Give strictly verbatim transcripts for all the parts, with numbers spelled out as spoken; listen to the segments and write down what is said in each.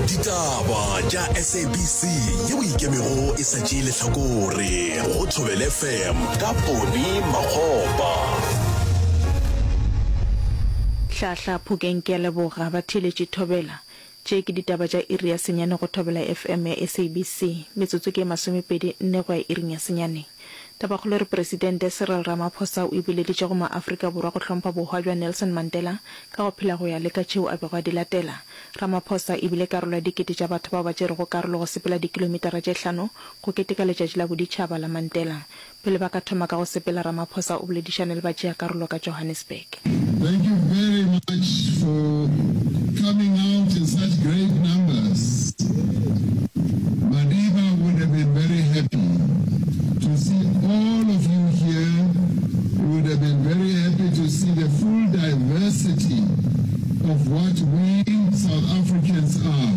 Ditaba tša S A B C yeo e ikemego e sa tšee lehlakore go Thobela F M ka Poni Makgopa. Hlahla Phokeng ke a leboga batheeletši Thobela. Tše ke ditaba tša iri ya senyane go Thobela F M ya S A B C. Metsotso ke e masomepedi nne go ya iring ya senyane. Tabakgolo e re Presidente Cyril Ramaphosa o ipileditše go maAfrika Borwa go hlompha bohwa bja Nelson Mandela ka go phela go ya le ka tšeo a bego a di latela. Ramaphosa e bile karolo ya dikete tša batho bao ba tšerego karolo go sepela dikilomitara tše hlano go keteka letšatši la boditšhaba la Mandela. Pele ba ka thoma ka go sepela Ramaphosa o boledišane le batšeakarolo ka Johannesburg. Thank you very much for coming out in such great numbers. Madiba would have been very happy to see all of you here. He would have been very happy to see the full diversity of what we South Africans are.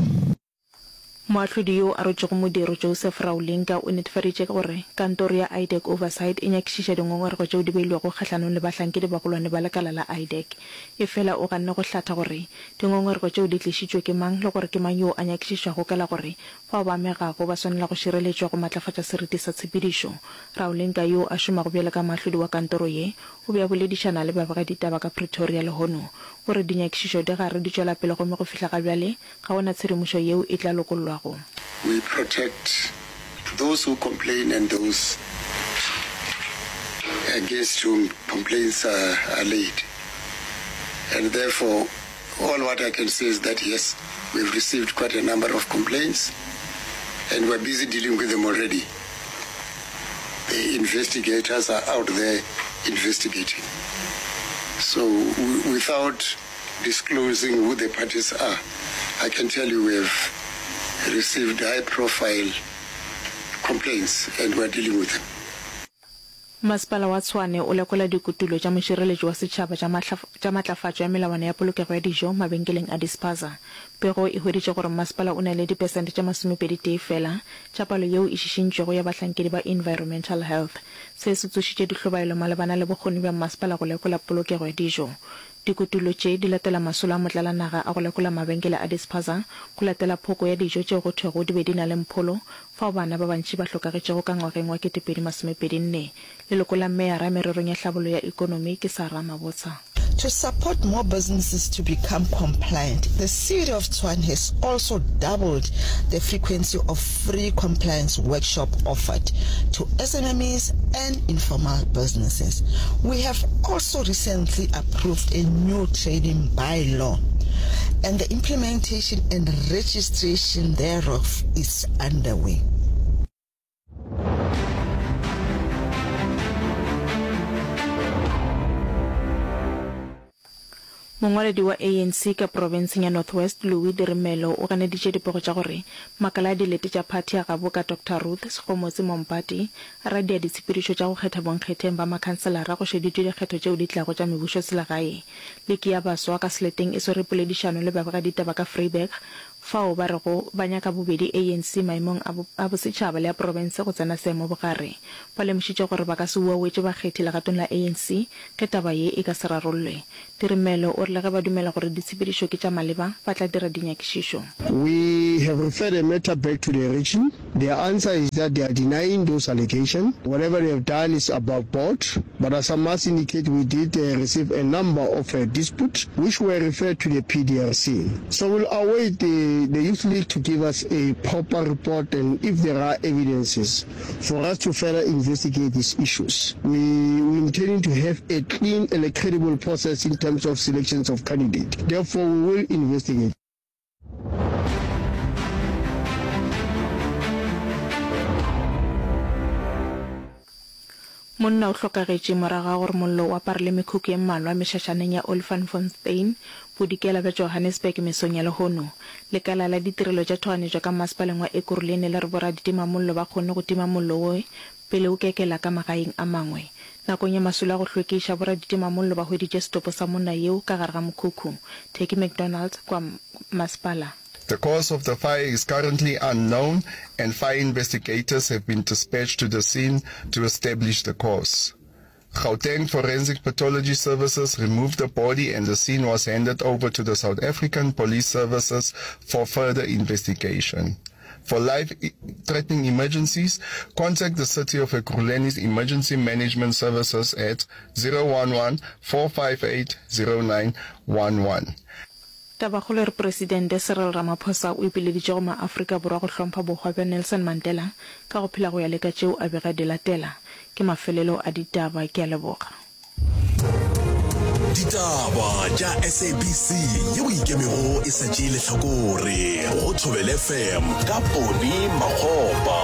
Moahlodi yo a rotšego modiro Joseph Raulinga o netefaditše gore kantoro ya IDAC Oversight e nyakišiša dingongorego tšeo di beilwego kgahlanong le bahlankedi bagolwane ba lekala la IDAC. Efela o ganne go hlatha gore dingongorego tšeo di tlišitšwe ke mang le gore ke mang yoo a nyakišišwago ka la gore bao ba amegago ba swanela go šireletšwa go matlafatša seriti sa tshepedišo. Raulinga yoo a šomago bjalo ka moahlodi wa kantoro ye o be a boledišana le babegaditaba ka Pretoria lehono. O re dinyakišišo di gare di tšwela pele gomme go fihla ga bjale ga go na tshedimošo yeo e tla lokollwago. We protect those who complain and those against whom complaints are, are laid. And therefore, all what I can say is that yes, we've received quite a number of complaints and we're busy dealing with them already. The investigators are out there investigating. So without disclosing who the parties are, I can tell you we have received high profile complaints and we're dealing with them. Masepala wa Tshwane o lekola dikutullo tša mošireletši wa setšhaba tša matlafatšo ya melawana ya polokego ya dijo mabenkeleng a dispaza. Pego e hweditše gore masepala o na le dipesente tše masomepedi tee fela tša palo yeo e šišintšwego ya bahlankedi ba Environmental Health. Se se tsošitše dihlobaelo malebana le bokgoni bja masepala go lekola polokego ya dijo. Dikutullo tše di latela masolo a motlalanaga a go lekola mabenkele a dispaza go latela phoko ya dijo tšeo go thwego di be di na le mpholo fao bana ba bantši ba hlokagetšego ka ngwageng wa ketepedi masomepedi nne. Leloko la meyara mererong ya hlabollo ya ekonomi ke Sarah Mabotsa. To support more businesses to become compliant, the City of Tshwane has also doubled the frequency of free compliance workshop offered to S M Es and informal businesses. We have also recently approved a new trading bylaw and the implementation and registration thereof is underway. Mongwaledi wa A N C ka profenseng ya North West, Louis Dirimelo, o ganeditše dipego tša gore makala a dilete tša phathi ya gabo ka Doctor Ruth Segomotsi Mompati a radia ditshepedišo tša go kgetha bonkgetheng ba makhanselara go šeditšwe dikgetho tšeo di tlago tša mebušoselegae. Liki ya baswa ka seleteng e swere poledišano le babegaditaba ka Vryburg fao ba rego ba nyaka bobedi A N C maemong a bosetšhaba le a profense go tsena seemo bogare. Ba lemošitše gore ba ka se uawetše bakgethi legatong la A N C ge taba ye e ka se rarollwe. Dirimelo o re le ge ba dumela gore ditshepedišo ke tša maleba, ba tla dira dinyakišišo. We have referred the matter back to the region. Their answer is that they are denying those allegations. Whatever they have done is above board. But as I must indicate, we did uh, receive a number of uh, disputes which were referred to the P D R C. So we'll await the, the Youth League to give us a proper report and if there are evidences for us to further investigate these issues. We, we intending to have a clean and a credible process in terms of selections of candidates. Therefore, we will investigate. Monna o hlokagetše morago ga gore mollo o aparele mekhukhu ye mmalwa mešašaneng ya Olifantsfontein, bodikela bja Johannesburg mesong ya lehono. Lekala la ditirelo tša tšhoganetšo ka masepaleng wa Ekurhuleni le re boraditimamollo ba kgonne go tima mollo wo pele o kekela ka magaeng a mangwe. Nakong ya masolo a go hlwekiša, boraditimamollo ba hweditše setopo sa monna yeo ka gare ga mokhukhu. Turkey McDonald kwa masepala. The cause of the fire is currently unknown and fire investigators have been dispatched to the scene to establish the cause. Gauteng Forensic Pathology Services removed the body and the scene was handed over to the South African Police Services for further investigation. For life-threatening emergencies, contact the City of Ekurhuleni's Emergency Management Services at zero one one, four five eight, zero nine one one. Tabakgolo e re Presidente Cyril Ramaphosa o ipileditše go maAfrika Borwa go hlompha bohwa bja Nelson Mandela ka go phela go ya le ka tšeo a bega di latela. Ke mafelelo a ditaba. Ke a leboga. Ditaba tša S A B C yeo e ikemego e sa tšee lehlakore go Thobela F M ka Poni Makgopa.